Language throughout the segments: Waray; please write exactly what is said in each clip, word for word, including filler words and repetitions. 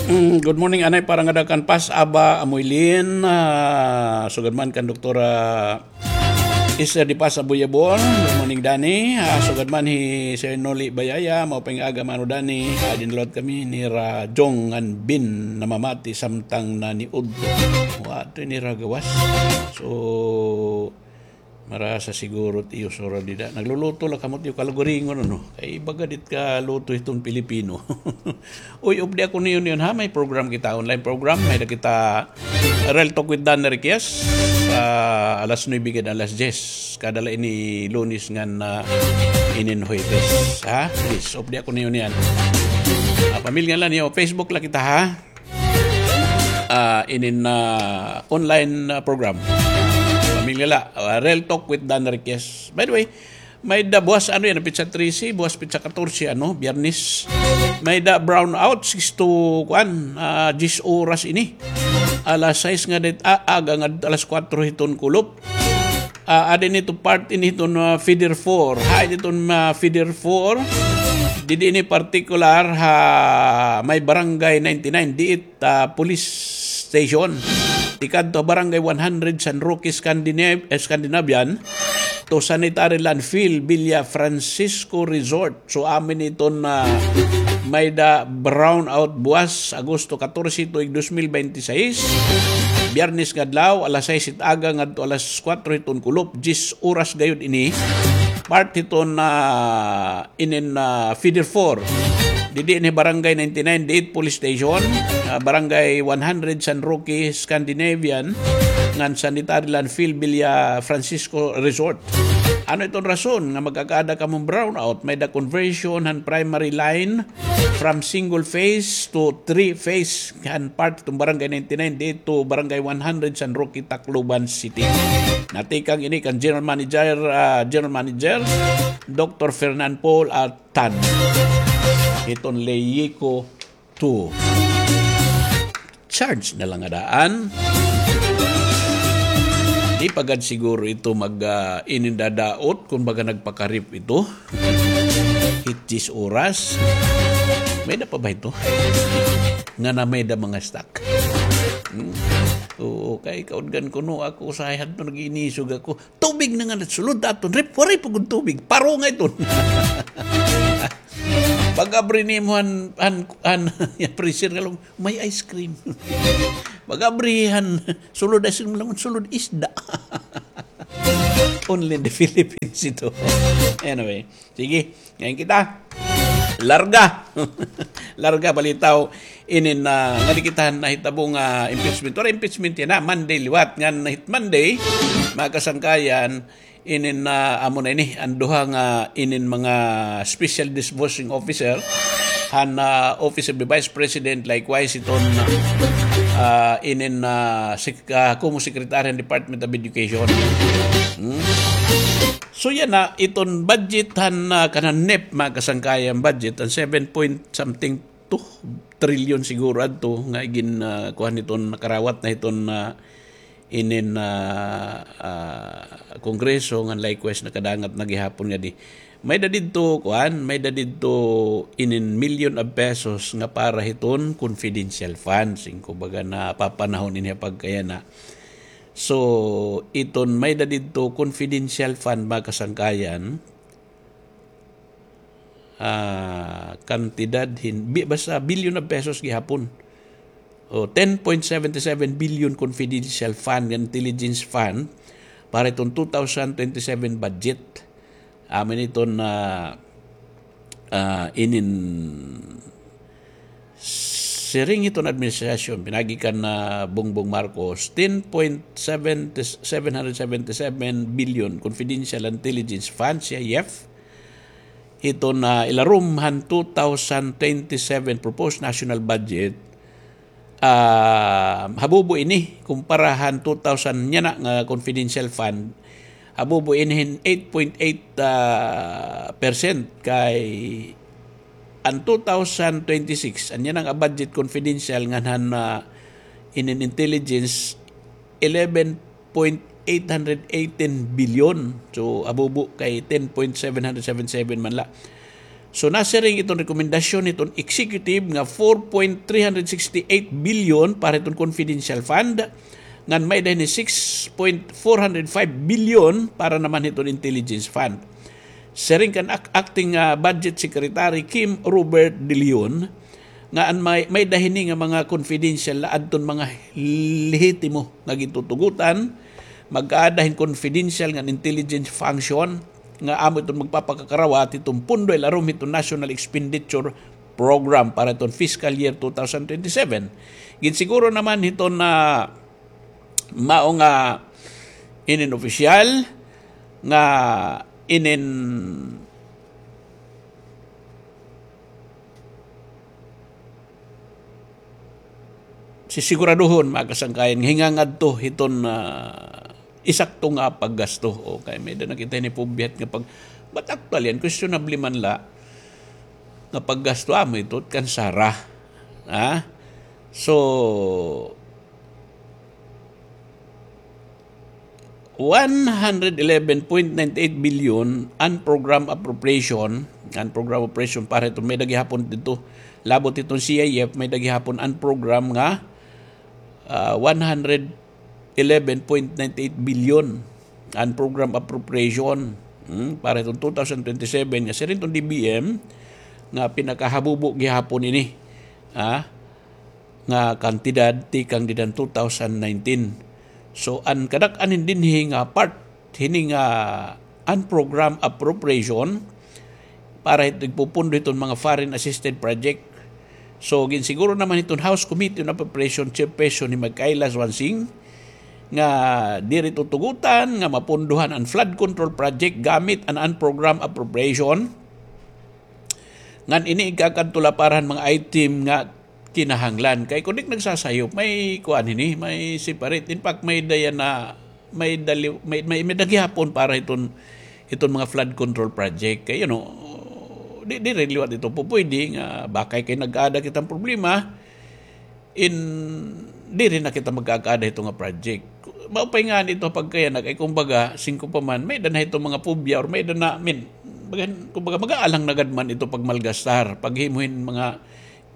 Mm, good morning, anay, para ngada kan Pas Aba Amoylin. Ah, sugad man kan Doktora Esther de Paz Aboyabon. Good morning, Danny. Ah, sugad man hi Sir Noli Bayaya, maupay nga aga, Mano Danny. Ah, dinalawat kami nira Jong ngan Bin namamati samtang naniudto. Wa, ito nira gawas. So, marasa siguro it iyo sura dida. Nagluluto la kamo it iyo kalugaringon, ano? Kay baga dit ka luto hiton Pilipino. Uy, updi ako niyo niyon, ha? May program kita, online program. May-ada kita Real Talk with Dan Enriquez. Ah, alas nuebe gad, alas diyes. Kada la ini Lunes ngan, ah, inin Huwebes. Ha? Please, updi ako niyo niyan. Ah, pamilya la niyo. Facebook la kita, ha? Ah, inin, ah, online, ah, program. Pamilya la, ah, Real Talk with Dan Enriquez. By the way, may-ada buwas, ano yan, pitsa trese, buwas pitsa katorse, ano, Biyernes. May-ada brownout, six to, kuan, ah, diyes oras ini. Alas sais ngada it, ah, aga ngada alas kuwatro hiton kulop. Ah, adi ini ito part ini hiton, ah, feeder four. Ha, adi iton, ah, feeder four. Didi ini partikular ha may Barangay ninety-nine, diit, ah, police station. Tikadto ha Barangay one hundred, San Roque, Scandinav-, eh, Scandinavian, to sanitary landfill, Villa Francisco Resort. So, amo ini iton, ah, may-ada brownout buwas, Agosto katorse, tuig dos mil bente seis. Biyernes nga adlaw, alas sais it aga ngadto alas kuwatro hiton kulop, diyes oras gayod ini. Part hiton, ah, inin, ah, feeder four. Didi ini Barangay ninety-nine, diit police station, ah, Barangay one hundred, San Roque, Scandinavian, ngan sanitary landfill, Villa Francisco Resort. Ano iton rason nga magkakaada kamo hin brownout? May-ada conversion han primary line from single phase to three phase han part hiton Barangay ninety-nine, diit to Barangay one hundred, San Roque, Tacloban City. Natikang ini kan General Manager, ah, General Manager, Doktor Fernan Paul Atan. Hiton Leyico two. Charge na la nga daan. Di pa gad siguro ito mag, ah, inindadaot, kun baga nagpakarip ito. Hit diyes oras. May-ada pa ba ito? Nga na may-ada mga stock. Hmm? Oo, kay kaudgan ko, no, ako usahay hadto nag-iinisog ako. Tubig na nga nasulod aton ref, waray pa gud tubig. Paro nga iton. Pag-abri nimo han, han, han, freezer nga lang, may ice cream. Pag-abri han sulod ice cream lang, sulod isda. Only in the Philippines ito. Anyway, sige, ngayon kita. Larga. Larga balitaw. Inin, ah, nga di kita nahitabo nga impeachment. Pero impeachment yana, Monday liwat. Ngan hit Monday, mga kasangkayan, inin, ah, amo na ini, an duha nga inin mga special disbursing officer, han, ah, Office of the Vice President, likewise iton, ah, inin, ah, sec-, ah, Kumu Secretary han Department of Education. Hmm? So yana, iton budget han, ah, kanan NEP, mga kasangkayan, budget, an seven point something two trillion siguro adto nga igin, ah, kuan hiton nakarawat na hiton, ah, inin, ah, ah, Kongreso, ngan likewise nakadangat na gihapon ngadi. May-ada didto, kuan, may-ada didto inin million of pesos nga para hiton confidential funds. Kumbaga napapanahon ini pagkayana. So, iton may-ada didto confidential fund, mga kasangkayan, ah, kantidad hin, bi-, basta billion of pesos gihapon. O, ten point seven seven billion confidential fund, intelligence fund, para iton two thousand twenty-seven budget. Amo ini iton, ah, ah, inin siring hiton administrasyon, pinaagi kan, ah, Bongbong Marcos, ten point seven, seven hundred seventy-seven billion confidential intelligence fund, C I F, hiton, ah, ilarom han two thousand twenty-seven proposed national budget, ah, habubo ini kumpara han two thousand yana nga confidential fund, habubo ini hin eight point eight, ah, percent kay an two thousand twenty-six, an yana nga budget confidential ngan han, ah, inin intelligence, eleven point eight hundred eighteen billion. So, habubo kay ten point seven hundred seven seven man la. So, nasiring iton rekomendasyon hiton executive nga four point three hundred sixty-eight billion para hiton confidential fund, ngan may-ada hini six point four hundred five billion para naman hiton intelligence fund. Siring kan Ac-, Acting, ah, Budget Secretary Kim Robert De Leon, nga an may, may-ada hini nga mga confidential na adton mga lehitimo nga gintutugutan, mag-aada hin confidential nga intelligence function nga amo iton magpapakakarawat hiton pondo ilarom hiton National Expenditure Program para hiton fiscal year two thousand twenty-seven. Ginsiguro naman hiton na mao nga inin opisyal nga inin sisiguraduhon, mga kasangkayan, nga hingangadto hiton, ah, isakto nga paggasto. O, kay may-ada na kita hini pubyat nga pag-, but actually, an questionable man la nga paggasto, amo ito, kan SARA. Ha? So, one hundred eleven point nine eight billion unprogrammed appropriation, unprogrammed appropriation para hiton may-ada gihapon didto, labot hiton C I F, may-ada gihapon unprogrammed nga, ah, one hundred eleven point nine eight billion unprogrammed appropriation, hmm, para hiton two thousand twenty-seven nga siring hiton D B M nga pinakahabubo gihapon ini, ah, nga kantidad tikang dida han two thousand nineteen. So, an kadak-an hin dinhi nga part hini nga unprogrammed appropriation para hit-, igpupundo hiton mga foreign assisted project. So, ginsiguro naman hiton House Committee on Appropriation Chairperson hi Mike Kayla Swansing nga diri tutugutan nga mapundohan an flood control project gamit an unprogrammed appropriation. Ngan ini igkakadto la para han mga item nga kinahanglan. Kay kun di nagsasayop, may kuan hini, may separate. In fact, may-ada yana, may-ada li-, may, may, may-ada gihapon para hiton, hiton mga flood control project. Kay, you know, di, diri liwat ito pupwede nga bakay kay nag-aada kita hin problema, in, diri na kita magkakaada hito nga project. Maupay ngani ito pagkayanak, kay kumbaga, singko pa man, may-ada na hito mga phobia or may-ada na, I mean, bagan, kumbaga, mag-aalang na gad man ito pagmalgastar, paghimo hin mga,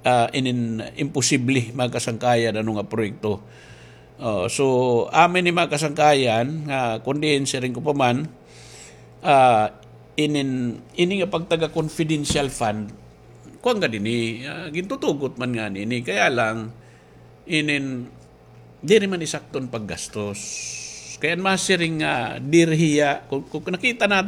ah, inin imposible, mga kasangkayan, ano nga proyekto. Oh, so, amin ni mga kasangkayan, nga, kun diin, siring ko pa man, ah, inin, ini nga pagtaga confidential fund, kuan gad ini, ah, gintutugot man ngani ini. Kaya lang, inin, diri man isakto an paggastos. Kay an masiring nga diri hiya, kun, kun nakita naton,